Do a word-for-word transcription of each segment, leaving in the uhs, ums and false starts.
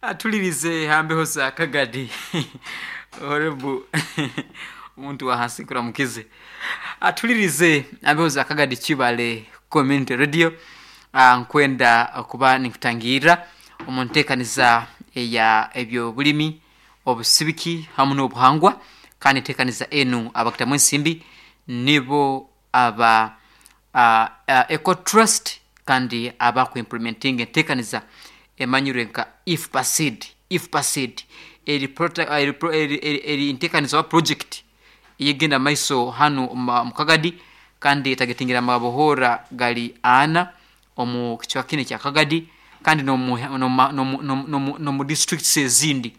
Atulirize hambeho za Kagadi horebu omuntu wa hansi nkuramukize. Atulirize ambeho za Kagadi Kibale Community Radio. Ah, nkwenda kuba ninkutangira omu nteekaniza eya ebyobulimi, obusibiki hamu n'obuhangwa, kandi enteekaniza enu abakutamu ensimbi nibo aba uh, uh, Eco Trust, kandi abakuimplementinga enteekaniza emanyirwe nka IFPACID. IFPACID eri, prota- eri, pro- eri, eri, eri enteekaniza wa project eyegenda maiso hanu mu mu Kagadi, kandi etagetingira amabohora gali ana omu kicweka kinu ekya Kagadi, kandi n'omu n'omu- n'omu- n'omu- n'omu- n'omu districts ezindi.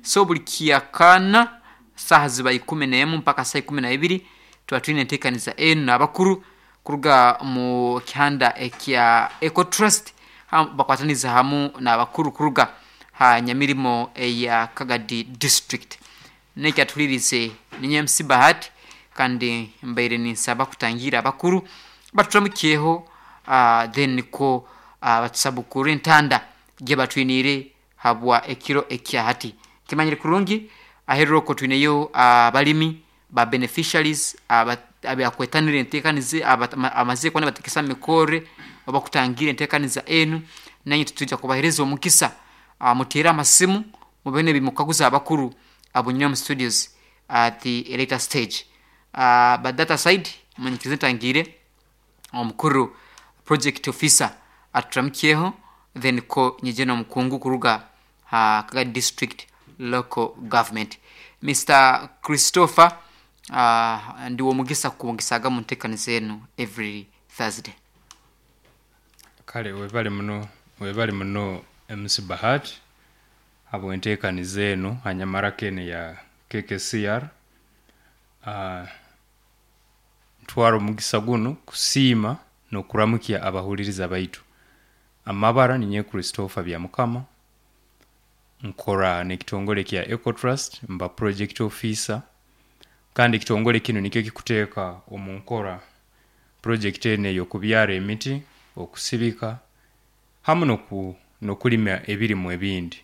So buli kyakana saaha ziba ikumi n'emu mpaka saa ikumi na ibiri tuba twine enteekaniza enu n'abakuru kuruga mu kihanda ekya Eco Trust, ha- bakwataniza hamu n'abakuru kuruga ha nyamirimo eya Kagadi District. Nekyatulirize ninye M C Bahati, kandi mbaire ninsaba kutangira abakuru batutramukyeho, uh, then niko uh, batusabukure entanda gye batwiniire habwa ekiro ekya hati. Kimanyire kurungi aherera okwo twineyo abalimi ba beneficiaries aba- abakwetanira enteekaniza, aba- amazire kuba nibatekesa mikore oba kutangira enteekaniza enu. Nanye tutwija kubahereza omukisa, uh, muteere amasimu mube nebimukaguza abakuru abunywa mu studios at the later stage. uh, but that aside, munyikirize ntangire omukuru project officer aturamukyeho, then ko nyije n'omukungu kuruga ha Kagadi District Local Government, Mister Christopher. uh, ndiwo omugisa kubongesaga mu nteekaniza enu every Thursday. Kale webale muno, webale muno M C Bahat habwenteekaniza eno hanyamaraka eno ya K K C R. uh, ntwara omugisa guno kusiima n'okuramukya abahuliriza baitu. Amabara ninye Christopher Byamukama, nkora n'ekitongole kya Ecotrust, mba project officer, kandi ekitongole kino nikyo kikuteeka omu nkora project eno ey'okubyara emiti, okusibika hamu n'oku- n'okulima ebirimu ebindi.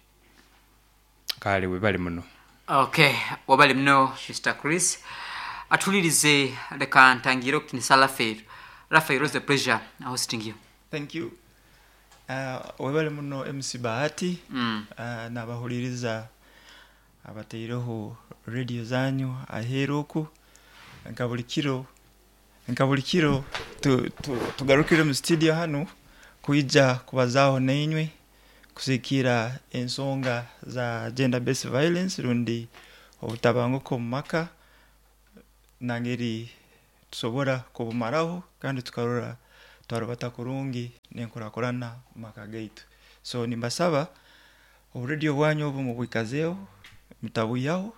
Kale webale muno. Okay, wabale muno Mister Chris. Atulirize, leka ntangire okutinisa Rafael. Rafael, was a pleasure hosting you. Thank you. Uh, webale muno M C Bahati. mm. uh, n'abahuliriza abataireho radio zanyu aheeru oku. Nka buli kiro nka buli kiro tu, tu, tugarukire mu studio hanu kwija kubazaaho nainywe kusikiira ensonga za gender based violence rundi obutabanguko mu maka, nangeri tusobora kubumaraho kandi tukarora twarubata kurungi n'enkurakurana mu maka gaitu. So nimbasaba oburediyo bwanyu obu mubwikazeeho, mutabwihaho,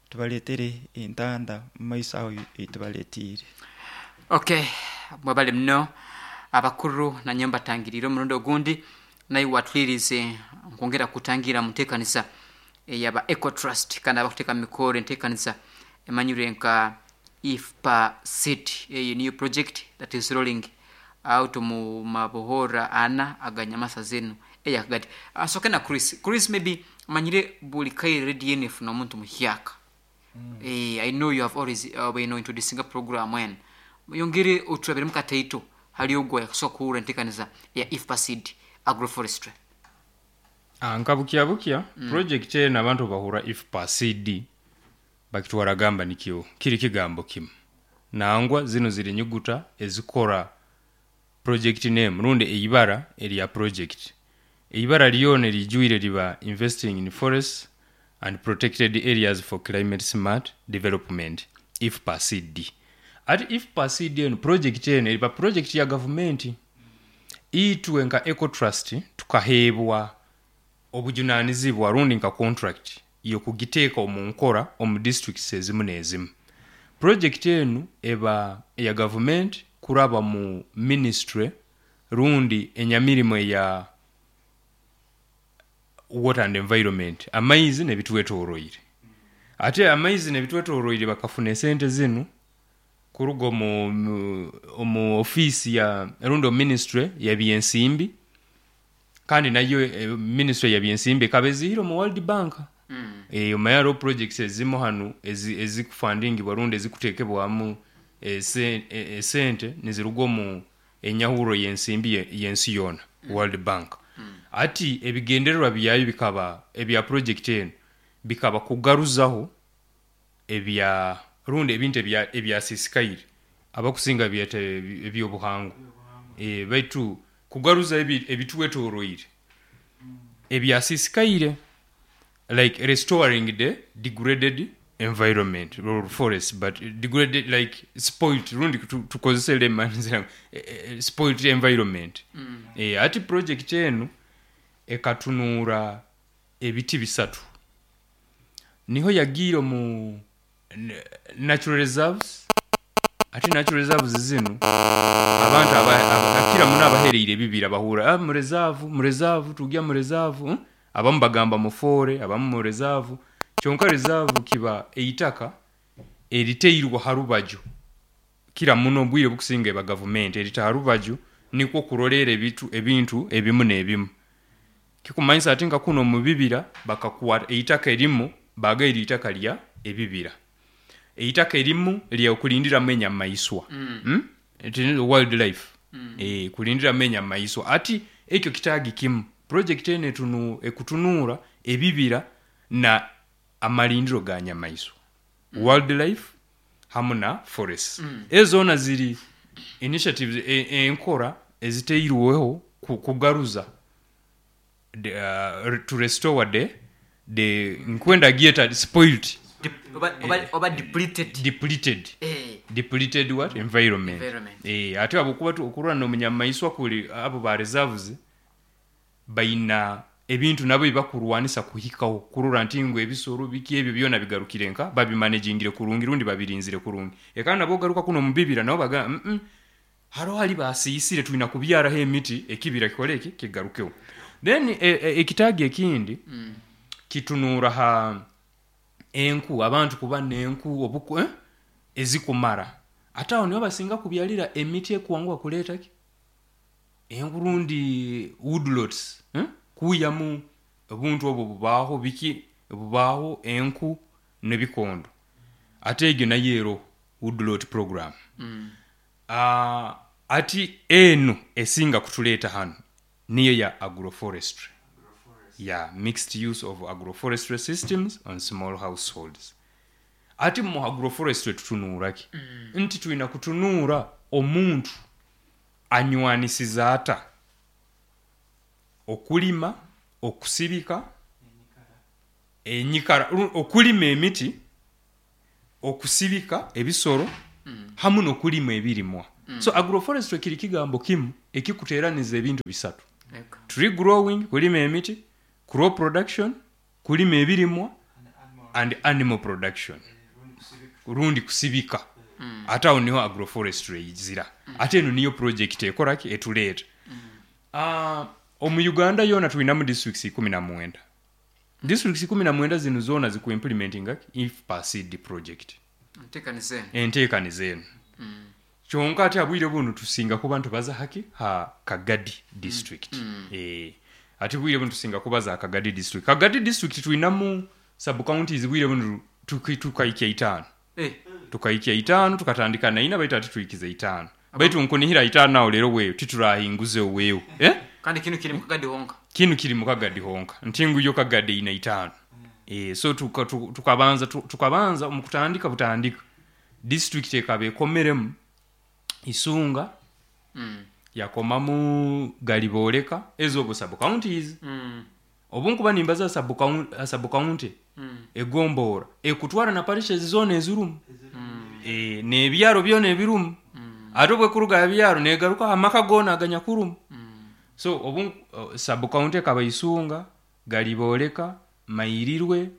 tubaleetere entanda mu maiso aho eitubaleetiire. Okay, mwebale muno abakuru. Nanye mbatangirire omurundi ogundi. Naye watulirize, nkwongera kutangira mu nteekaniza eyaba Eco Trust, kandi abakuteeka mu mikoro enteekaniza emanyirwe nka IFPA eyo niyo project that is rolling out mu mabohora ana aganyamasa zenu eyakagati. Asoke na Chris. Chris, maybe manyire buli kaire radio eno efuna omuntu muhyaka. mm. eh, i know you have always uh, been introducing a program when yongere otulabiremu kataito hali ogwo yakusobola kuwura enteekaniza ya IFPACID agroforestry. Ah, nka bukya bukya mm. project eno abantu bahura IFPACD bakitwara gamba nikyo kiri kigambo kimu. Nangwa zino ziri nyuguta ezikora project name rundi eibara erya project. Eibara lyona erijwire liba Investing in Forests and Protected Areas for Climate Smart Development, IFPACD. Ati IFPACD eno, project eno eriba project ya gavumenti. Itwe nka Ecotrust tukaheebwa obujunanizibwa rundi nka contract yokugiteeka omu nkora omu districts ezimu n'ezimu. Project enu eba eya gavumenti kuraba mu ministry rundi enyamirimo eya Water and Environment, amaizi n'ebitwetoroire. Ate amaizi n'ebitwetoroire bakafuna esente zinu kuruga omu, mu- omu ofiisi ya rundi omu ministry ya byensimbi. Kandi nayo eh, ministry ya byensimbi ekaba ezihire omu World Bank. Mm. Eh, omaye hariho projects ezimu hanu ezi- ezikufundingibwa rundi ezikuteekebwamu ese- e- esente niziruga omu enyahuro y'ensimbi ye- y'ensi yoona, World Bank. Ati ebigendererwa byayo bikaba ebya project eno bikaba kugaruzaho ebya rundi ebintu ebya ebyasisikaire, abakusinga byeta ebi- ebyobuhangwa, e, baitu kugaruza ebi- ebitwetoroire ebyasisikaire, like restoring the degraded environment or forest, but degraded like spoilt, rundi tu- tukozese layman eh, eh, spoilt environment. Mm. E, ati project enu ekatunuura ebiti bisatu, niho yagiire mu n- natural reserves. Ate natural reserves zinu abantu aba- aba- akira muno abahereire ebibira bahura, ah, mu reserve, mu reserve, tugya mu reserve, hmm? Abamu bagamba mu forest, abamu mu reserve. Kyonka reserve kiba eitaka eriteirwa ha rubaju, kira muno obwire bukusinga eba gavumenti erita ha rubaju nikwo kurolera ebitu ebintu ebimu n'ebimu. Kikumanyisa ati nka kuno mu bibira bakakwata eitaka erimu bagaira itaka lya ebibira, eitaka erimu lya okulindiramu enyamaiswa. Mm. Mm? It is wildlife. Mm. E, kulindiramu enyamaiswa. Ati ekyo kitaagi kimu project eno etunu, ekutunuura ebibira na amalindiro ga nyamaiswa, mm. wildlife hamu na forest. Mm. Ezo zoona ziri initiatives, e- enkora eziteirweho ku- kugaruza the, uh, to restore the the nkwenda gieta spoiled. Dep- oba, oba, oba depleted. Depleted. Eh. Depleted what? Environment. Environment. Eh, ate abukuba tu okurwana omunyamaiswa kuli abo ba reserves baina ebintu nabo bibakurwanisa kuhikaho kurora nti ngo ebisoro biki ebyo byona bigarukire nka babimanagingire kurungi rundi babirinzire kurungi. Ekana nabo garuka kuno mubibira nabo baga mm -mm, haro hali basiyisire tulina kubyaraho emiti ekibira kikoleki kigarukeho. Then e, e, ekitaagi ekindi Mm. kitunuura ha enku, abantu kuba n'enku obuku, eh? ezikumara. Ate awo nibo basinga kubyalira emiti ekuwanguha kuleeta ki enku rundi woodlots, eh? Kuuyamu obuntu obwo bubaaho biki bubaaho enku n'ebikondo. Ate egyo nayo ero woodlot program. Mm. Uh, ati eno esinga kutuleeta hano niyo ya agroforestry, ya mixed use of agroforestry systems on small households. Ati mu agroforestry tutunuuraki? Mm. Nti tulina kutunuura omuntu anywanisiza ata okulima, okusibika enyikara, ru- okulima emiti, okusibika ebisoro, Mm. hamu n'okulima ebirimwa. Mm. So agroforestry kiri kigambo kimu ekikuteeraniza ebintu bisatu: Eka. tree growing, kulima emiti, crop production, kulima ebirimwa, and animal production rundi kusibika. Mm. Ate awo niho agroforestry izira. Ate eno niyo project ekoraki etuleeta. Ah, omu Uganda yoona tulinamu districts ikumi na mwenda. Districts ikumi na mwenda zino zoona zikuimplementinga IFPACD project. Nteekaniza eno. Enteekaniza eno. Mm. Kyonka ate abwire buno tusinga kuba ntubaza haki ha Kagadi district. Mm. Eh, ate bwire buno tusinga kubaza Kagadi district. Kagadi district tulinamu sub counties bwire buno tuki- tukaikya itaano. Eh. Tukaikya itaano, tukatandika naina, baitu ate tuikize itaano, baitu nkunihira itaano awo leero weeyo titurahinguze weewo, eh? Kandi kinu kiri mu Kagadi honka. Kinu kiri mu Kagadi honka, nti nguyo Kagadi ina itaano. E, so tuka- tu- tukabanza tu- tukabanza mu kutandika butandika district ekaba ekomeremu Isunga, Mm. yakomamu Galibooleka, ezo obwo sub counties. Mm. Obu nkuba nimbaza sub county, sub county Mm. egomboora ekutwara na parishes zoona ezirumu, Mm. e, n'ebyaro byona ebirumu. Mm. Ate obwekuruga aha byaro negaruka amaka goona aganyakurumu. Mm. So obu uh, sub county ekaba Isunga, Galibooleka, Mairirwe,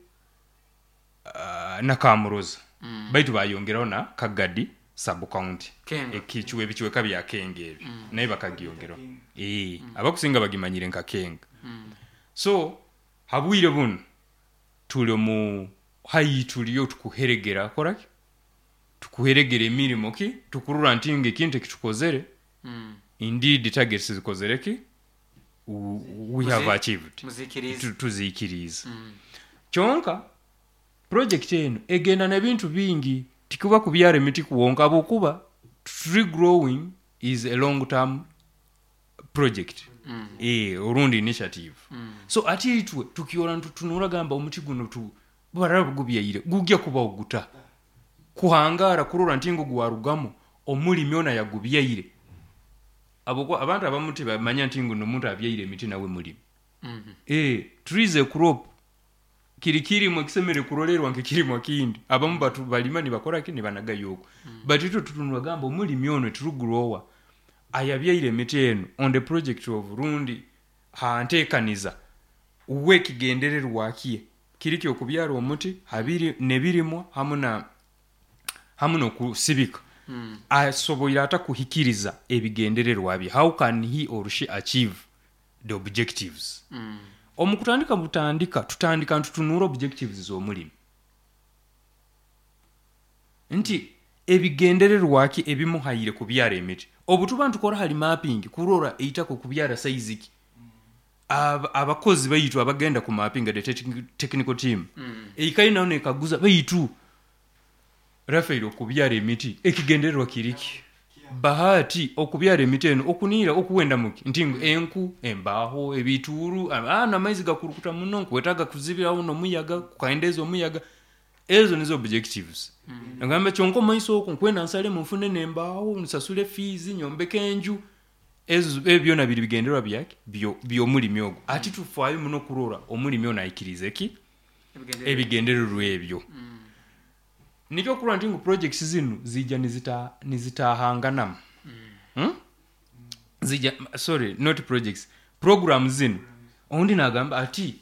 uh, na Kamuroza. Mm. Baitu bayongeraho na Kagadi sub county. Kenga. Ekichwe ebichweka bya Kenga ebyo naye bakagiyongeraho. Eh, abakusinga bagimanyire nka Kenga. Mm. So habwire buno tuli mu hayi tuliyo tukuheregera koraki tukuheregera emirimo ki tukurura nti nga ekintu ekitukozere Mm. indeed targets zikozere ki we have achieved. Muzikiriza. Tu- tuzikiriza Kyonka project eno egenda n'ebintu bingi, tikuba kubyara emiti kuwonka, habwokuba tree growing is a long term project mm. e, orundi initiative mm. So ati itwe tukiora ntutunura gamba omuti guno tu baraba gubyaire gugya kuba oguta kuhangara kurora ntingo gwarugamo omulimi ona yagubyaire. Aboko abantu abamuti bamanya ntingo nomuntu abyaire emiti nawe mulimi mm -hmm. E, trees a crop kiri kirimo kisemere kurolerwa nke kirimo kindi abamu batu balima nibakora ki nibanagayoko mm. But itwe tutunura gamba omulimi ono true grower ayabyaire emiti eno on the project of rundi hantekaniza uwe kigendererwa kiye kiriki okubyara omuti habiri nebirimwa hamu na hamu nokusibika mm. Asoboira ata kuhikiriza ebigendererwa bye. How can he or she achieve the objectives? mm. Omukutandika butandika tutandika ntutunura objectives z'omulimi nti ebigendererwa ki ebimuhaire kubyara emiti. Obutuba ntukora hali mapping kurora eitako kubyara size ki Ab, abakozi baitu abagenda ku mapping the technical team mm. Eikai nayo nekaguza baitu Rafael okubyara emiti ekigendererwa kiriki Bahati okubyara emiti eno okunira okuwenda muki ntingo enku embaho ebituru ana amaizi gakurukuta muno nkwetaga kuzibiraho nomuyaga kukaendeza omuyaga. Ezo nizo objectives. Mm. Ngamba kyonko maiso okwo nkwenda nsale mufune nembaho nsasule fees nyombeke enju. Ezo ebyo na biri bigendererwa byake byo byomulimi ogwo. Ati tufaayo muno kurora omulimi ono ayikirize ki ebigendererwa ebyo. Mm. Nikyo kurora ntingo projects zinu zijja nizita nizitahangana. Mm. Hmm? Zijja sorry not projects programs zinu. Ondi nagamba ati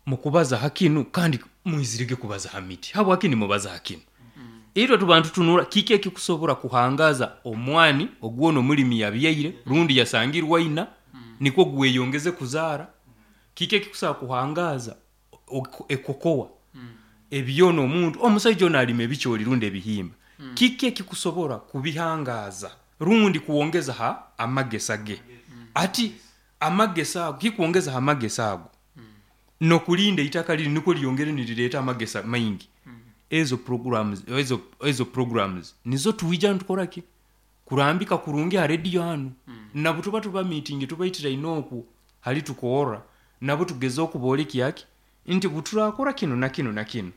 mukubaza hakinu kandi muizirige kubaza hamiti. Habwaki ni mubaza hakinu? Mm. Itwe tubantu tunura kiki ekikusobora kuhangaza omwani ogwono mulimi yabyaire rundi yasangirwa ina mm. Niko gweyongeze kuzara. Kiki ekikusa kuhangaza ekokoa mm. Ebyono omuntu omusajja ono alima ebikyoli rundi ebihimba mm. Kiki ekikusobora kubihangaza rundi kuongeza ha amagesa ge mm. Ati amagesa ago kikuongeza ha amagesa ago mm. Nokulinda itaka liri niko lyongere nilireta amagesa maingi mm. Ezo programs ezo ezo programs nizo tuwija ntukora ki kurambika kurungi ha radio hanu mm. Nabo tuba tuba meeting tubaitira inoku hali tukora nabo tugeza okuboleki yaki nti buturakora kino na kino na kino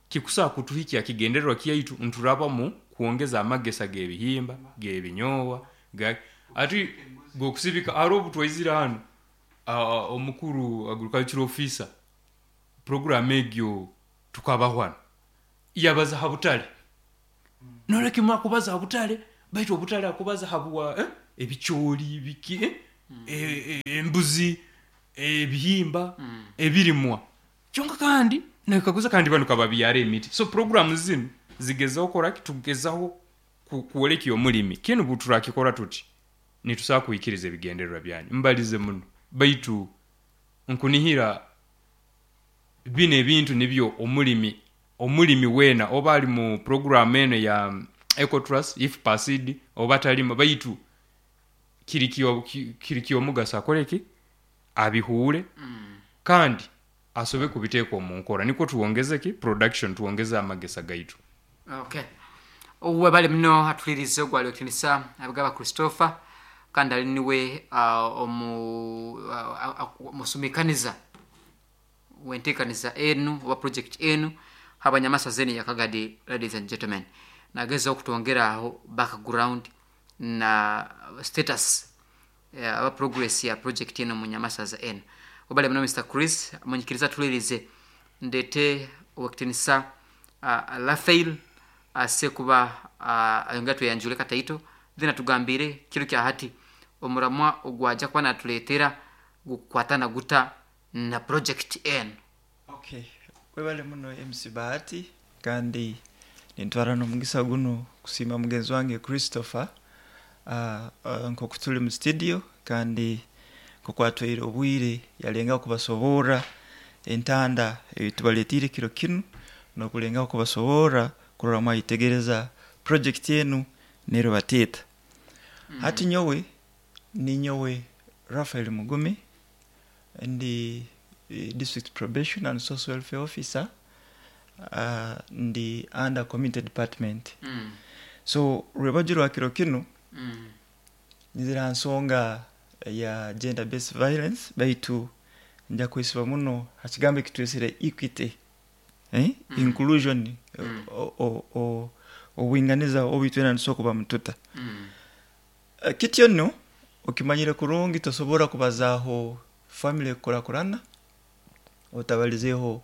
kikusa kutuhikia kigendererwa kiyaitu nturaba mu kuongeza amagesa gebihimba gebinyowa ga ati gokusibika aro butwaizira hano uh, omukuru agricultural officer program egyo tukabahwana yabaza habutale mm. Noleke mwakubaza habutale baitu obutale akubaza habwa eh? Ebicholi biki eh? Mm. E, e, embuzi ebihimba mm. Ebirimwa kyonka kandi nakaguza kandi bano kababyara emiti. So program zinu zigezaho kora tugezaho kuoleki omulimi kinu buturakikora tuti nitusa kuikiriza ebigendererwa byanyu mbalize muno baitu nkunihira bine ebintu nibyo omulimi omulimi wena oba ali mu program eno ya Ecotrust if passed oba talima baitu kirikio kirikio mugasa akoleki abihure mm. Kandi asobe kubiteeka mu nkora niko tuongeze ki production tuongeze amagesa gaitu. Okay. Webale muno atulirize ogwali otinisa abagaba Christopher kandi ali niwe uh, omu uh, musumikaniza wentekaniza enu oba project enu habanyamasa zeni yakagadi. Ladies and gentlemen, nageza okutwongera aho background na status aba uh, progress ya project eno mu nyamasa enu. Webale muno Mister Chris munyikiriza tulirize ndete owakitinisa uh, Rafael asekuba uh, ayongera tweyanjule kataito then atugambire kiro kya hati omuramwa ogwaja kuba natuleetera gukwatana guta na project N. Okay, webale muno M C Bahati kandi nintwara n'omugisa guno kusiima mugenzi wange Christopher uh, uh, nk'oku tuli mu studio kandi nkokwatwaire obwire yalenga kubasoborra entanda ebitubaletiire kiro kinu n'okulenga kubasoborra kurora mwayitegereza project enu nero bateta. Mm. Hati nyowe ni nyowe Rafael Mugume Ndi eh, district probation and social welfare officer, uh, ndi under community department. Mm. So rwebagyo rwa kiro kinu Mm. nizira nsonga ya gender based violence, baitu nja kwesiba muno hakigambo ekitwesere equity, eh? Mm. Inclusion, Mm. o- o- o- obwinganiza obwitwena nitusobola kuba mututa. Mm. Eh, kityo nno okimanyire kurungi tosobora kubazaaho family ekukurakurana otabalizeeho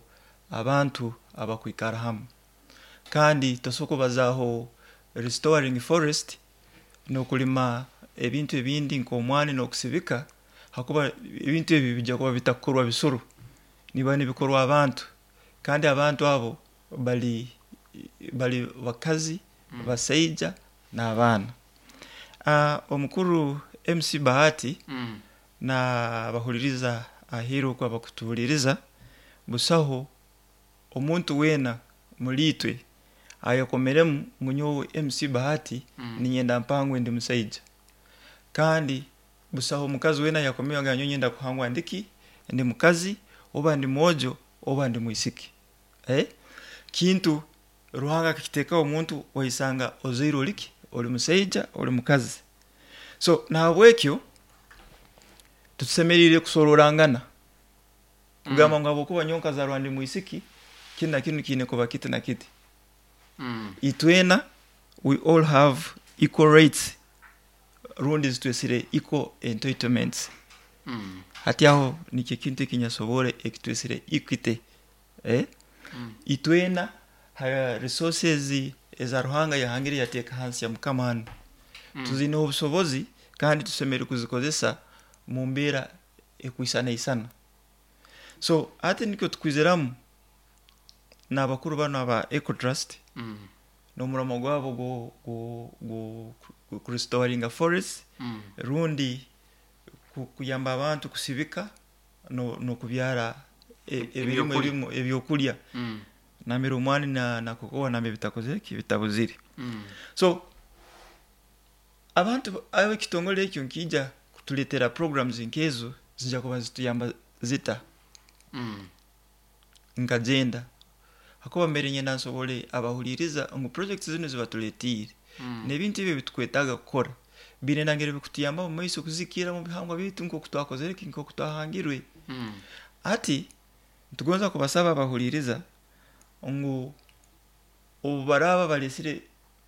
abantu abakwikara hamu, kandi tosobola kubazaaho restoring forest n'okulima ebintu ebindi nk'omwani n'okusibika, hakuba ebintu ebi bijja kuba bitakukorwa bisoro, nibiba nibikorwa abantu, kandi abantu abo bali bali bakazi, Mm. basaija n'abaana. Uh, omukuru M C Bahati Mm. n'abahuliriza aheeru oku abakutuhuliriza, busaho omuntu weena muliitwe ayekomeremu ngu nyowe M C Bahati Mm. ninyenda mpangwe ndi musaija, kandi busaho omukazi weena yakomeyo nga nyowe nyenda kuhangwa ndiki ndi mukazi oba ndi mwojo oba ndi mwisiki. Eh? Kintu Ruhanga akakiteekaho omuntu waisanga ozaire oliki oli musaija oli mukazi. So nahabwekyo tutusemeriire kusororangana kugamba ngu habwokuba nyowe nkazarwa ndi mwisiki kinu na kinu kiine kuba kiti na kiti. Mm. Itwena we all have equal rights, rundi zitwesire equal entitlements. Mm. Hati aho nikyo kintu ekinyasobore ekitwesire equity. Eh? Mm. Itwena ha resources eza Ruhanga yahangire yateeka hansi ya Mukama hano. Mm. Tuzine obusobozi kandi tusemere kuzikozesa mu mbeera ekwisana isana. So ate nikyo tukwizeramu n'abakuru bano aba Ecotrust Mm. n'omurimo gwabo go, go, go, go kurestoringa forest, Mm. rundi ku-, kuyamba abantu kusibika no, n'okubyara e-, ebirimu Ebyokurya. ebimu ebyokurya. Mm. Namira omwani na, na kokoa nambe bitakoze ki bitabuzire. Mm. So abantu ab'ekitongole ekyo nkija kutuletera programs nkezo zijja kuba zituyamba zita. Mm. Nkagenda hakuba mbere nyenda nsobole abahuliriza ngu projects zino zibatuletiire. Mm. N'ebintu ebyo bitukwetaaga kukora binenangire bikutuyamba mu maiso kuzikira mu bihangwa bitu nk'oku twakozere ki nk'oku twahangirwe. Mm. Ati nitugonza kubasaba abahuliriza ngu obu baraba balesire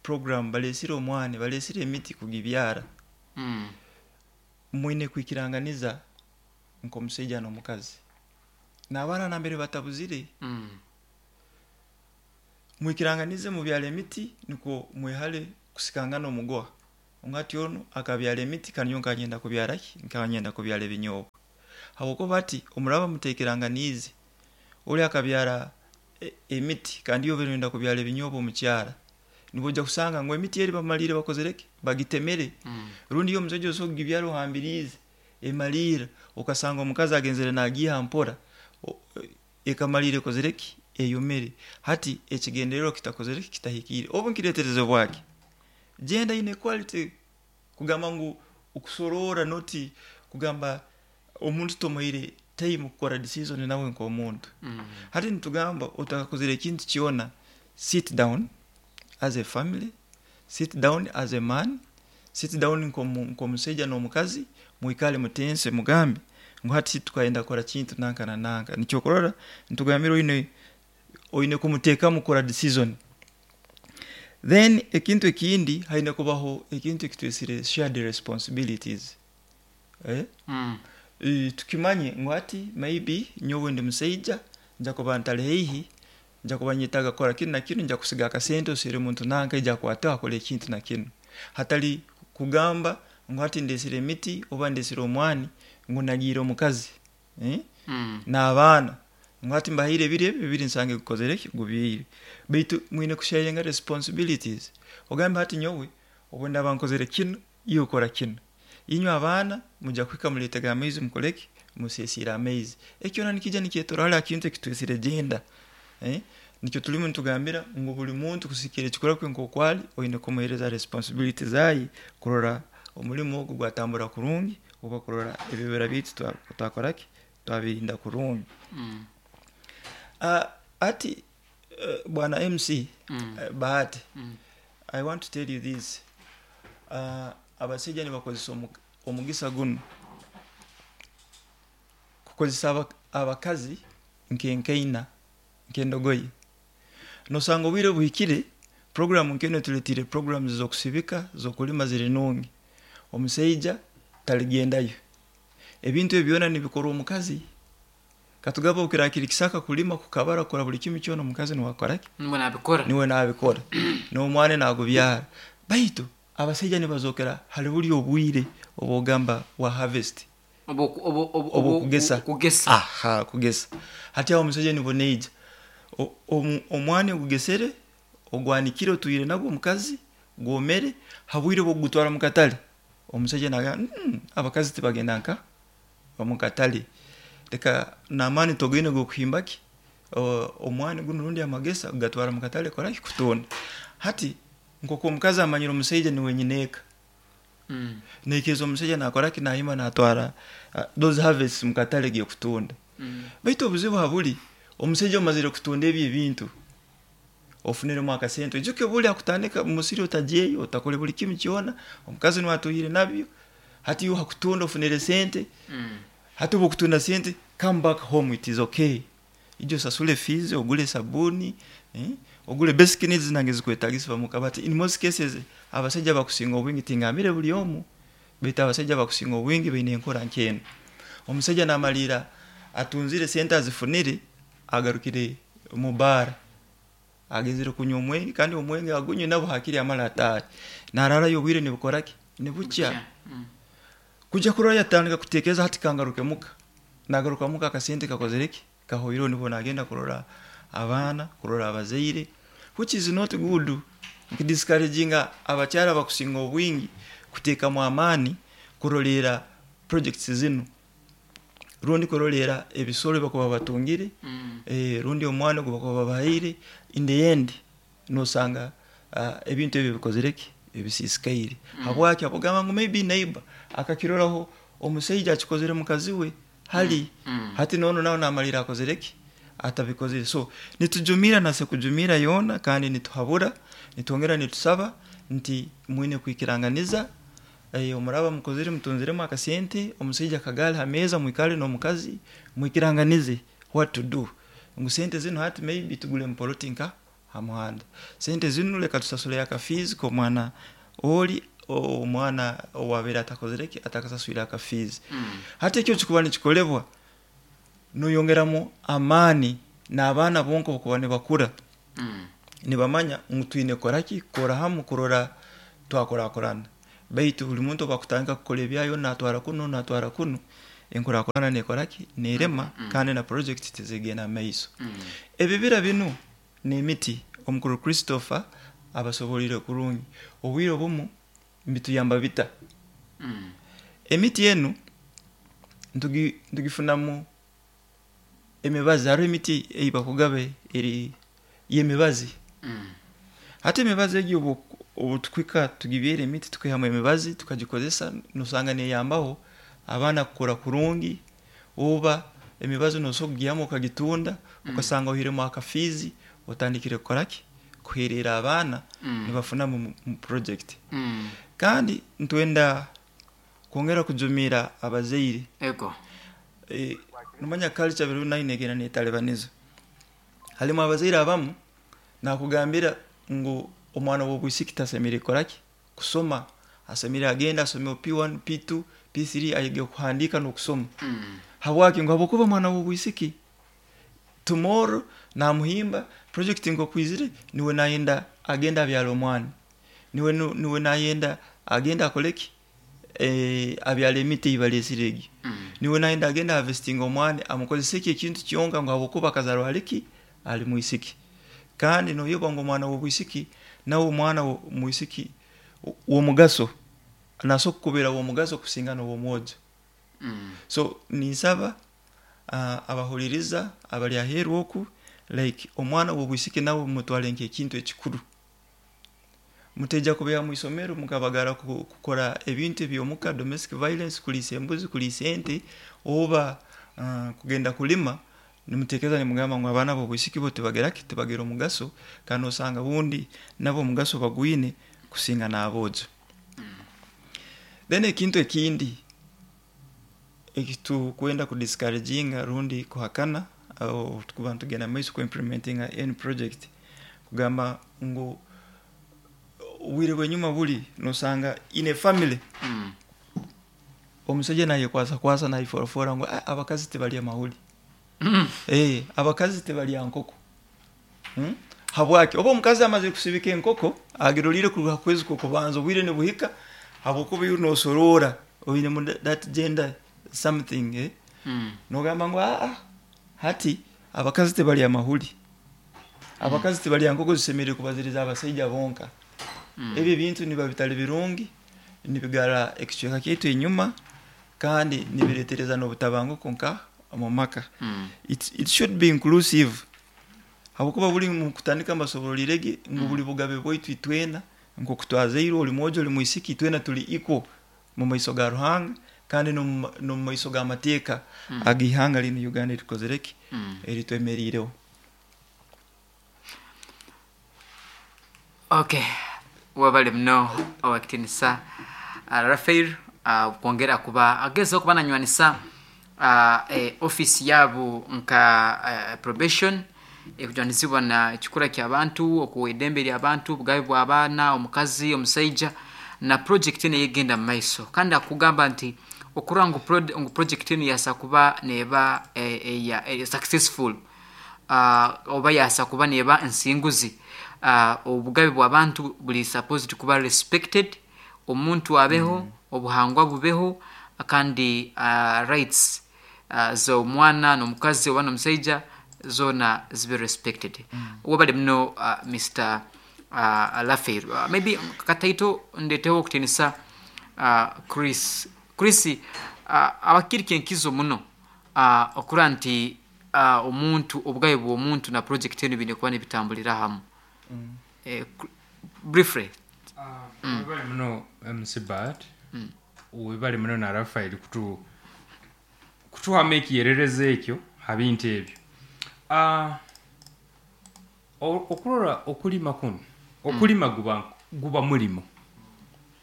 program, balesire omwani, balesire emiti kugibyara. Mm. Mwine kwikiranganiza nk'omushaija n'omukazi n'abaana nambere batabuzire. Mm. Mwikiranganize mubyala emiti niko mwehale kusikangana omugoha. Ongati ono akabyala emiti kandi nyowe nkagenda kubyara ki? Nkagenda kubyala ebinyobwa. Habwokuba ati omuraba muteekeranganiize oli akabyara e-, emiti kandi iwe orenda kubyala ebinyobwa omu kyara, nibwo ojja kusanga ngu emiti eri bamalire bakozere ki? Bagitemere. Mm. Rundi iyo omusajja osobola kugibyara ohambiriize emaliira, okasanga omukazi agenzere nagiiha mpora, o-, ekamalira ekozere ki? Eyomere. Hati ekigendererwa kitakozere ki? Kitahikiire. Obu nkireetereze bwaki? Gender inequality kugamba ngu okusorora noti kugamba omuntu tomuhaire time kukora decision nawe nk'omuntu. Mm. Hati nitugamba otakakozere ekintu kyona, sit down as a family, sit down as a man, sit down nk'omu-, nk'omushaija n'omukazi, mwikale mutense mugambe ngu hati tukagenda kukora kintu nanka na nanka. Nikyo kurora nitugambira oine, oine kumuteekamu kukora decision. Then ekintu ekindi haine kubaho ekintu ekitwesire shared responsibilities. Eh? Mm. E, tukimanye ngu hati maybe nyowe ndi musaija, nja kuba ntali haihi, nja kuba nyetaaga kukora kinu na kinu, nja kusiga akasente osire omuntu nanka ija akwate akole ekintu na kinu. Hatali kugamba ngu hati ndesire emiti oba ndesire omwani ngu nagiire omukazi. Eh? Mm. N'abaana ngu hati mbahaire ebiri ebi bibiri nsange gukozere ki? Gubiire. Baitu mwine kusharinga responsibilities. Ogambe hati nyowe obu ndaba nkozere kinu, iwe okora kinu. Inywe abaana mujja kuhika muleetega amaizi mukoleki? Musesiire amaizi. Ekyo na nikija nikyetorora kintu ekitwesire gender. Eh? Nikyo tulimu nitugambira ngu buli muntu kusikira ekikora kwe nk'okwali oine kumuheereza responsibility zayi kurora omulimo ogu gwatambura kurungi oba kurora ebibira biitu twa-, twakoraki Twabirinda kurungi. Mm. Uh, ati uh, bwana M C, Mm. uh, Bahati, Mm. I want to tell you this. uh, abasaija nibakozesa omu- omugisa guno kukozesa aba- abakazi nkenkaina, nkendogoyi. Nosanga obwire buhikire, program nkeno tuletire, programs zokusibika, zokulima ziri nungi, omusaija taligendayo. Ebintu ebyo byona nibikorwa omukazi. Katugaba okirakiri kisaka, kulima, kukabara, kukora buli kimu kyona, omukazi niwakoraki? Niwe nabikora. Niwe nabikora, n'omwana nagubyara. Baitu abasaija nibazokera hali buli obwire obwogamba wa harvest. Obu- obu- obu- Obukugesa. Kugesa. Aha, kugesa. Hati aho omusajja nibwo neija O- omu- omwani ogugesere, ogwanikire, otwire nagwo omukazi, gwomere. Habwire bwokugutwara mu katale, omusajja nagamba, mm, abakazi tibagenda nka omu katale, leka n'amaani togaine gokuhimbaki O- omwani guno rundi amagesa kugatwara mu katale koraki, kutunda. Hati nkoku omukazi amanyire omusaija niwe nyineeka, Mm. naikiriza omusajja nakoraki, nahima natwara uh, those harvests mu katale gekutunda. Mm. Baitu obuzibu habuli, omusajja omazire kutunda ebyo ebintu, ofuniremu akasente, oijuke buli akutandika musiri, otajeyo, otakole buli kimu kyona, omukazi niwe atuhire nabyo. Hati iwe hakutunda ofunire sente. Mm. Hati obu okutunda sente, come back home, it is okay, ijo osasule fees, ogule sabuni, eh? Ogule basic needs nange zikwetagisibwa muka. But in most cases abasajja bakusinga obwingi, tingambire buli omu, baitu abasajja bakusinga obwingi baine enkora nkeno. Omusajja namalira atunzire sente, azifunire, agarukire mu bara, agenzire kunywa omwenge, kandi omwenge agunywe nabo hakiri amala atahe, nararayo, obwire nibukoraki, nibukya. Mm. Kujya kurora yatandika kutekereza, hati kangaruke muka. Nagaruka muka, akasente kakozereki, kahoireho, nibwo nagenda kurora abaana, kurora abazaire, which is not good. Nkidiscouraginga abakyara bakusinga obwingi kuteekamu amaani kurolera projects zinu, rundi kurolera ebisoro bakuba batungire, Mm. eh, rundi omwana gwe bakuba babahaire. In the end nosanga uh, ebintu ebyo bikozereki, ebisisikaire. mm. Habwaki? Abugamba ngu maybe neighbor akakiroraho omusaija akikozere mukazi we hali. Mm. Hati nono nawe namalira akozereki, atabikozere. So nitujumira nase kujumira yona, kandi nituhabura, nitwongera nitusaba nti mwine kwikiranganiza. eh, omuraba mukozere, mutunziremu akasente, omusaija akagale ha meza, mwikale n'omukazi, mwikiranganize what to do, ngu sente zino hati maybe tugule mpoloti nka ha muhanda, sente zino leka tusasule aka fees k'omwana oli, omwana owabeire atakozereki, atakasaswire aka fees. Mm. Hati ekyo kikuba nikikolebwa, noyongeramu amaani n'abaana bonka okuba nibakura, Mm. nibamanya ngu twine koraki, kukora hamu, kurora twakurakurana. Baitu buli muntu obakutandika kukora ebyayo, natwara kuno, natwara kuno, enkurakurana nekoraki, nerema, kandi na project tizigenda maiso. Mm. Ebibira binu n'emiti, omukuru Christopher abasobolire kurungi, obwire obumu mbituyamba bita? Mm. Emiti enu ntugi- ntugifunamu emibazi. Hariho emiti eibakugaba eri y'emibazi. Mm. Hati emibazi egyo, obu obu tukwika tugibyera emiti, tukihamu emibazi, tukagikozesa, nosanga neyambaho abaana kukura kurungi. Oba emibazi nosobola kugihamu okagitunda, ukasanga ohiremu aka fees, otandikire kukoraki, kuherera abaana, Mm. nibafunamu mu- mu project. Mm. Kandi ntwenda kwongera kujumira abazaire. Ego. e, nomanya culture biri nayo negenda netalibaniza. Halimu abazaire abamu nakugambira ngu omwana w'obwisiki tasemere koraki, kusoma, asemere agenda asome P one, P two, P three, ayige kuhandika n'okusoma. Mm. Habwaki? Ngu habwokuba omwana w'obwisiki tomorrow namuhimba project ngokwizire, niwe nayenda agenda abyala omwana, niwe nu- niwe nayenda agenda akoleki, eh, abyala emiti eibalesire egi, Mm. niwe nayenda agenda harvesting omwana, amukozesa eki ekintu kyonka, ngu habwokuba akazarwa aliki, ali mwisiki. Kandi noyoba ngu omwana w'obwisiki nawe omwana wo- mwisiki w'omugaso, nasobola kukubera w'omugaso kusinga n'ow'omwojo. Mm. So ninsaba uh, abahuliriza abali aheeru oku, like omwana w'obwisiki nawe mutwale nk'ekintu ekikuru. Muteja kubeha mu isomero mukabagara ku- kukora ebintu ebyomuka, domestic violence, kuliisa embuzi, kuliisa ente, oba uh, kugenda kulima nimutekereza nimugamba ngu abaana b'obwisiki bo tibageraki tibagira omugaso, kandi osanga bundi nabo omugaso bagwine kusinga n'aboojo. Then ekintu ekindi ekitukwenda kudiscouraginga rundi kuhakana aho tukuba nitugenda maiso ku implementinga any project, kugamba ngu obwire bw'enyuma buli nosanga in a family Mm. omusajja nayekwasa kwasa nayiforafora ngu "Ah, abakazi tebalya mahuli." Mm. Eh, abakazi tebalya nkoko. Hmm? Habwaki oba omukazi amaze kusibika enkoko agirolire kuruga kwezi kubanza obwire nibuhika, habwokuba iwe nosorora oine mu that gender something, eh? Mm. Nogamba ngu aa hati abakazi tebalya mahuli, abakazi tebalya nkoko, zisemerire kubaziriza abasaija bonka. Mm. Ebyo ebintu niba bitali birungi, nibigara ekicweka kyaitu enyuma kandi nibiretereza n'obutabanguko nka omu maka. Mm. it, it should be inclusive, habwokuba buli mu kutandika mbasobolirege ngu buli bugabe bwaitu itwena nkoku twazairwe, oli mwojo oli mwisiki, itwena tuli equal mu maiso ga Ruhanga kandi n'omu n'omu maiso g'amateeka Mm. ag'ihanga linu Uganda erikozereki Mm. eritwemeriireho. Okay, wabale muno owakitinisa uh, Rafael uh, kwongera kuba agezaho kuba nanywanisa uh, eh, office yabo nka uh, probation ekujwanizibwa na ekikura ky'abantu, okuwa eddembe ly'abantu, obugabe bw'abaana, omukazi, omusaija, na project eno eyegenda mu maiso. Kandi akugamba nti okurora ngu, prod, ngu project eno yasa kuba neba eh, eh, eh, successful, uh, oba yasa kuba neba nsinguzi, uh, obugabe bw'abantu buli supposed kuba respected, omuntu abeho, mm. obuhangwa bubeho, kandi uh, rights uh, z'omwana n'omukazi oba n'omusaija zona zibe respected. mm. Wabale muno uh, Mister uh, Rafael. uh, maybe kataito ndeteho okutinisa uh, Chris. Chris, uh, abakirika enkizo muno uh, okura nti uh, omuntu obugabe bw'omuntu na project eno bine kuba nibitambulira hamu. Mm. eh, briefly. Uh, webale muno M C Bart, webale muno na Rafael kutu kutuhamu ekiyerereza ekyo ha bintu ebyo. Uh, okurora okulima kuno, okulima guba guba mulimo,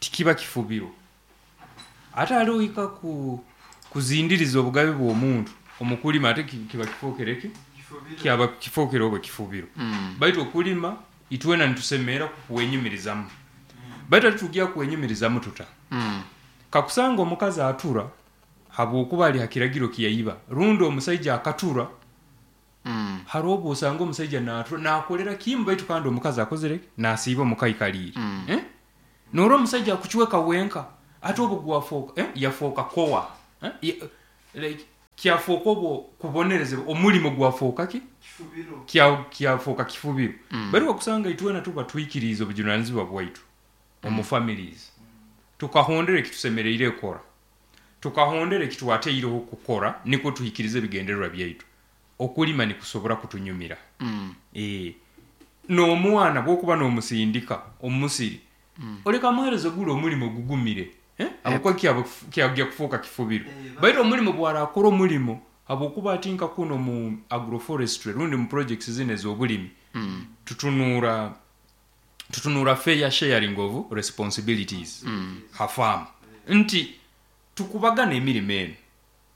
tikiba kifubiro. Ate haliho ika ku kuzindiriza obugabe bw'omuntu omukulima, ate kiba kifokereki kyaba kifokere oba kifubiro. Mm. Baitu okulima itwena nitusemera kuwenyumirizamu, baitu ate tujja kuwenyumirizamu tuta? Mm. Kakusanga omukazi atura habwokuba ali hakiragiro kiyayiba, rundi omusaija akatura. Mm. Hariho obu osanga omusaija natura nakolera kimu, baitu kandi omukazi akozere nasiiba omukaikaliire. Mm. Eh? Nora omusaija akucweka wenka, ate obu gwafooka, eh? Yafooka kowa, eh? Ya, like kyafooka obwo kubonerezebwa, omulimo gwafooka ki kya kyafooka kifubiro. Mm. Bari wakusanga itwena tuba twikiriza obujunanizibwa bwaitu omu families, tukahondera ekitusemereire kukora, tukahondera ekitwateireho kukora, niko tuhikirize ebigendererwa byaitu. Okulima nikusobora kutunyumira. Mm. Eh, n'omwana bwokuba n'omusindika omusiri, Mm. oleka muhereza gula omulimo gugumire, eh? Habwokuba kyaba kyagya kufuuka kifubiro, baitu omulimo bwarakora omulimo habwokuba atinka kuno mu agroforestry rundi mu projects zino ez'obulimi, Mm. tutunura tutunura fair sharing of responsibilities. Mm. Ha farm nti tukubagana emirimo eno,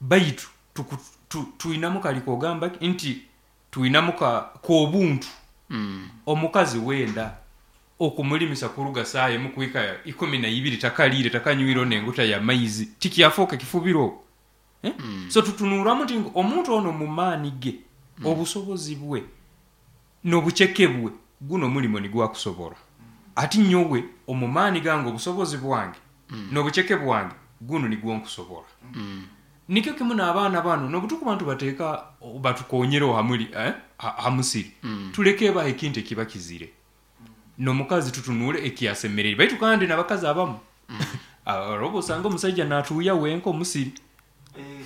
baitu tuku- tu- tuinamu kaliko ogamba nti tuinamu ka k'obuntu. Mm. Omukazi wenda okumulimisa kuruga saa emu kuhika ikumi na ibiri takalire takanywire nenguta ya maizi, tikyafuuka kifubiro, eh? Mm. So tutunuramu nti ngu omuntu ono mu maani ge, obusobozi bwe n'obuceke bwe, guno omulimo nigwakusobora. Ati nyowe omu maani gange, obusobozi bwange n'obuceke bwange, guno nigwo nkusobora. Mm. Nikyo kimu n'abaana bano nobutukuba ntubateeka batukonyereho hamuli, eh? ha, hamusiri. Mm. Tuleke baha ekintu ekiba kizire, n'omukazi tutunuule ekyasemerere, baitu kandi n'abakazi abamu roba osanga omusaija natuuya wenka omusiri,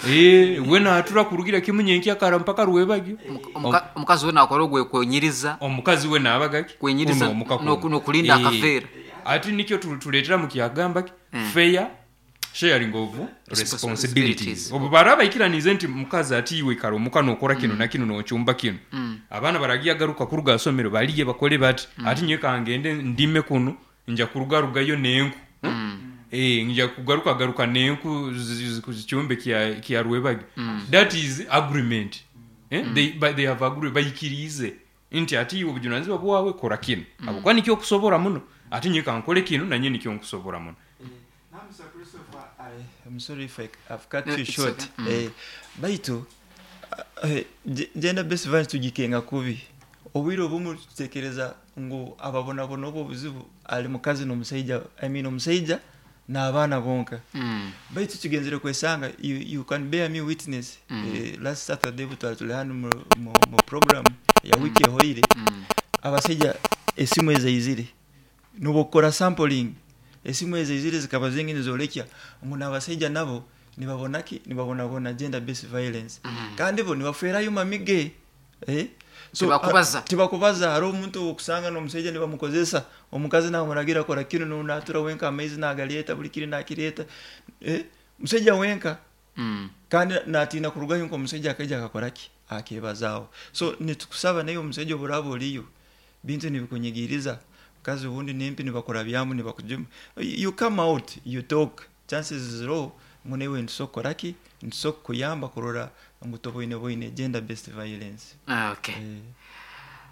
eh, we natura kurugira kimu nyenkya kara mpaka rwebagyo. Omuka- omukazi we nakora ogwekwenyiriza, Omukazi we naabagaki Kwenyiriza Kuno omuka n'oku- kuno. n'okulinda Eh, akaveera. Ati nikyo tu- tuleetera mu kyagamba ki Mm. fair Sharing of responsibilities. Obu baraba ikiranize nti mukazi ati iwe ikara omuka nokora kino mm. na kino nochumba kino. Mm. Abaana baragiye garuka kuruga somero baliye bakole bati mm. ati nyewe kangende ndime kuno nja kurugarugayo nenku. Mm. Eh nja kugaruka garuka nenku kuzichumbe kya kya rwebagi. Mm. That is agreement. Eh? Mm. They but they have agreed bayikirize nti ati iwe obujunanizibwa bwawe kora kino. Mm. Abo kwani kyo kusobora muno ati nyewe kankole kino na nyene kyo nkusobora muno. I, I'm sorry if I, I've cut no, you short. Okay. Mm. Eh, baitu eh, gender based violence tugikenga kubi. Obwire obumu tutekereza ngu ababonabona obwo obuzibu ali mukazi n'omusaija, I mean omusaija n'abaana bonka. Mm. Baitu tugenzere kwesanga you, you can bear me witness. Mm. Eh, last Saturday butwali tuli hano mu, mu, mu program ya wiki ehoire. Mm. Abasaija esimu ezaizire nubokora sampling esimu ezaizire zikaba zingine zolekya ngu n'abasaija nabo nibabonaki nibabonabona gender based violence. Mm. Kandi bo nibaferayo mamige eh so tibakubaza tibakubaza hari omuntu okusanga n'omusaija nibamukozesa omukazi namuragira kora kino n'onatura wenka amaizi nagaleta buli kiri nakireta eh musaija wenka. Mm. Kandi natina kurugayo nko omusaija akaija akakoraki akebazaawo. So nitukusaba nayo omusaija oburabo oliyo bintu nibikunyigiriza kazi ubundi nempi nibakora byamu nibakujuma, you come out you talk, chances is low munewe ntusokoraki ntusokuyamba kurora ngu toboine boine gender based violence. Okay. Eh.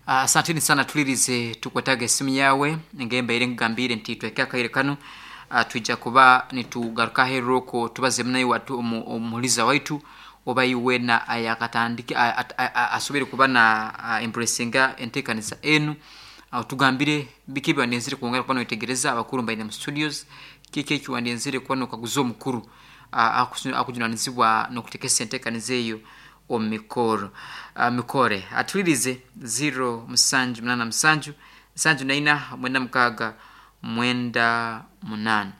Asanteni uh, sana tulirize tukwetaga esimu yawe ngemba ire ngambire nti twekeka kaire kanu uh, tuija kuba nitugaruka heroko tubaze munayi watu omuliza waitu oba iwe na ayakatandike asobere kuba na uh, embracinga entekanisa enu uh, tugambire bikiba nenzire kuongera kuba noitegereza abakuru mbaine mu studios kike kiwandenzire kuba nokaguza omukuru uh, akujunanizibwa nokutekesa enteekaniza eyo omumikoro uh, mikore atulirize zero musanju munana musanju nsanju naina mwenda mukaaga mwenda munana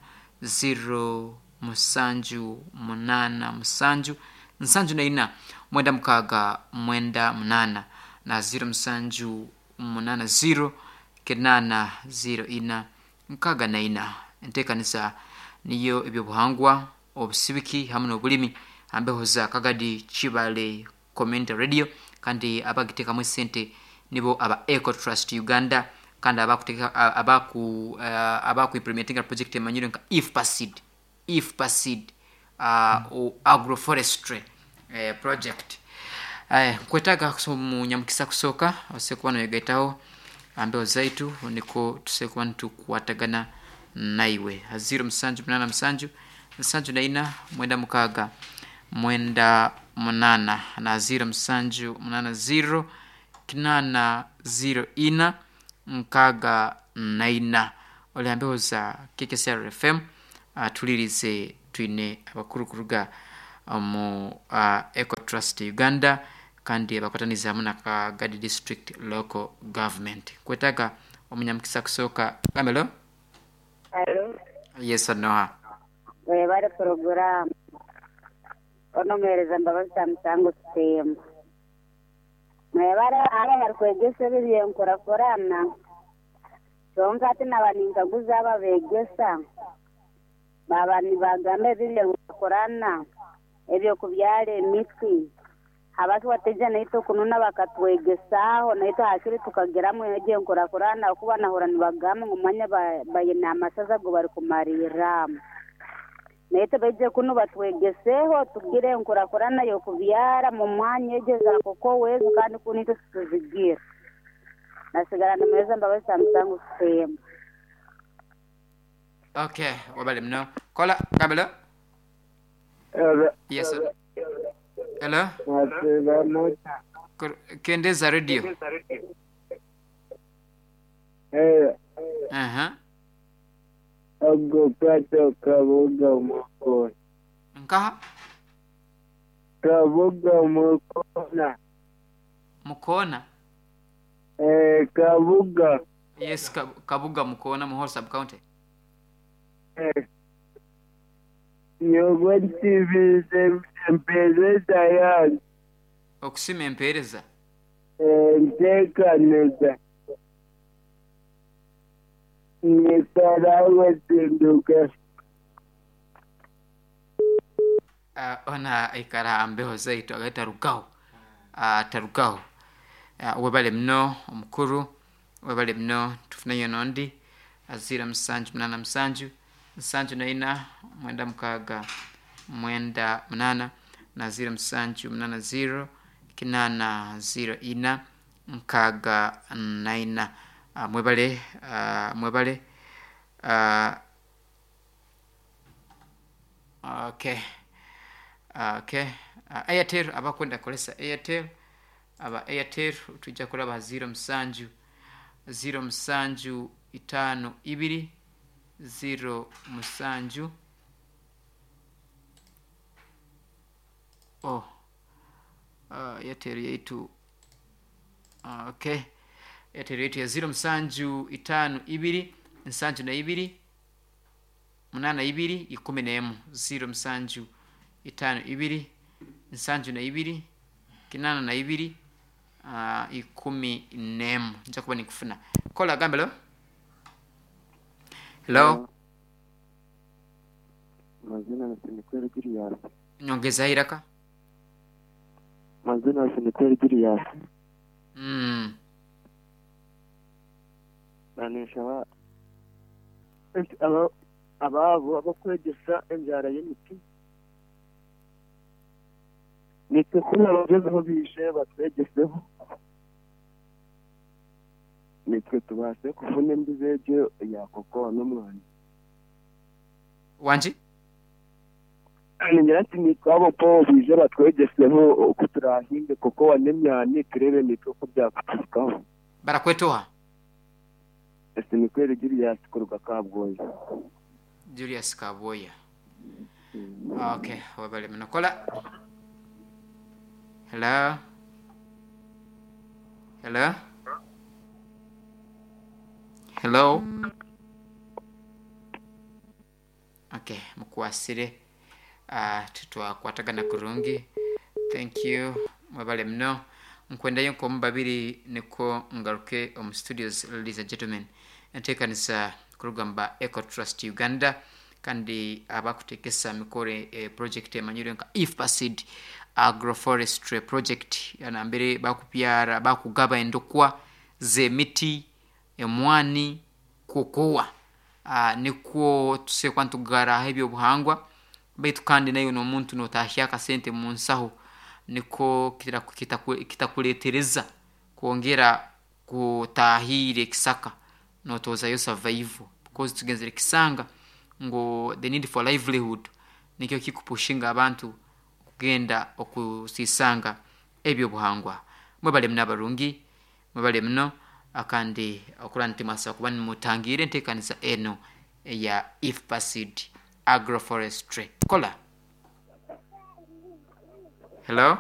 zero musanju munana musanju nsanju naina mwenda mukaaga mwenda munana na zero musanju munana zero kenana zero ina nkaaga naina. Enteekaniza niyo ebyobuhangwa obusibiki hamwe n'obulimi ambeho za Kagadi Kibale Community Radio kandi abagitekamu sente nibo aba Eco Trust Uganda kandi abakuteka abaku uh, abaku implementing project emanyire nka IFPASID IFPASID uh, mm. agroforestry eh, project. Eh, kwetaga munyamukisa kusoka osekuba noyegaitaho ambeho zaitu niko tusekuba nitukwatagana naiwe zero musanju munana musanju nsanju naina mwenda mukaaga mwenda munana na zero musanju munana zero kinana zero ina nkaaga naina. Oliambeho za K K C R F M uh, tulirize twine abakuru kuruga mu uh, Eco Trust Uganda kandi abakwataniza hamwe na Kagadi District Local Government. Kwetaga omunyamukisa kusoka kamelo. Hello. Yes noha. Webale program. Onomereza Mbabazi Musango Kitemba. Mwebale aba barikwegesa ebyenkurakurana. Kyonka ati nabaninkaguza aba begesa. Baba nibagamba ebyenkurakurana ebyokubyara emiti. Abasi wateja naito kununa bakatwegesaho naito hakiri tukageramu ebyenkurakurana okuba nahura nibagamba ngu manya bayina amasaza go bari kumariramu. Naite baije kuno batwegeseho tugire enkurakurana yokubyara mu mwanya egeza koko wezu kandi kunito tuzigira. Nasigara nameza Mbabazi Musango Kitemba. Okay, wabale mno. Kola kabela. Yes sir. Hello. Kendeza radio. Eh. Aha. Ago kato Kabuga mukona. Nkaha? Kabuga mukona. Mukona? Eh, Kabuga. Yes, Kabuga mukona Muhoro sub county. Eh. Nyowe nsibize empereza yange. Okusima empereza? Eh, nteekaniza. Nikarawe zinduka. Uh, ona aikara mbeho zaitu agaita rugaho uh, tarugaho. Uh, webale muno omukuru, webale muno. Tufuneyo nondi azira musanju munana musanju nsanju naina mwenda mukaaga mwenda munana na ziro musanju munana ziro kinana ziro ina nkaaga naina. Uh, mwebale uh, mwebale. uh, okay okay uh, Airtel, abakwenda kolesa Airtel, aba Airtel tujja kulaba ziro musanju ziro musanju itano ibiri ziro musanju. Oh, uh, Airtel yaitu. uh, okay Airtel yaitu ya ziro musanju itano ibiri nsanju na ibiri munana ibiri ikumi n'emu, ziro musanju itano ibiri nsanju na ibiri kinana na ibiri uh, ikumi n'emu. Nja kuba nikufuna kola gambe lo. Hello. Mazina ni Sinikweli Julius. Nyongeza iraka. Mazina ni Sinikweli Julius. mm. Banisha aba ababo abakwegesa enjara y'emiti nitwe kuri abagezeho bishe batwegeseho, nitwe tubashe kuvuna embizi egyo ya kokowa n'omwani. Wanji. Ningira nti nitwe abo po bije batwegeseho oku turahinge kokowa n'emyani, turebe nitwe oku byakuturukaho. Barakwetoha. Sinikweli Julius kuruga Kabwoya. Julius Kabwoya. Okay, webale muno. Kola. Hello. Hello. Hello. Okay, mukwasire. Uh, tutwakwatagana kurungi. Thank you. Mwebale muno. Nkwendayo nkomu babiri niko ngaruke omu studios, ladies and gentlemen. Enteekanisa kurugamba Eco Trust Uganda kandi abakutekesa mikore eh, project emanyire nka IFPASID agroforestry project anambere bakubyara bakugaba endokwa z'emiti, emwani, kokowa. uh, nikwo tusekwa ntugaraho ebyobuhangwa baitu kandi nayo n'omuntu notahya akasente mu nsaho niko kitakuletereza kwongera kutahira ekisaka notozayo survival, because tugenzere kisanga ngo the need for livelihood nikyo kikupushinga abantu kugenda okusisanga ebyobuhangwa. Mwebale muno abarungi, mwebale muno akandi okura nti mwasa kuba nimutangire enteekanisa eno eya IFPASID agroforestry. Kola. Hello.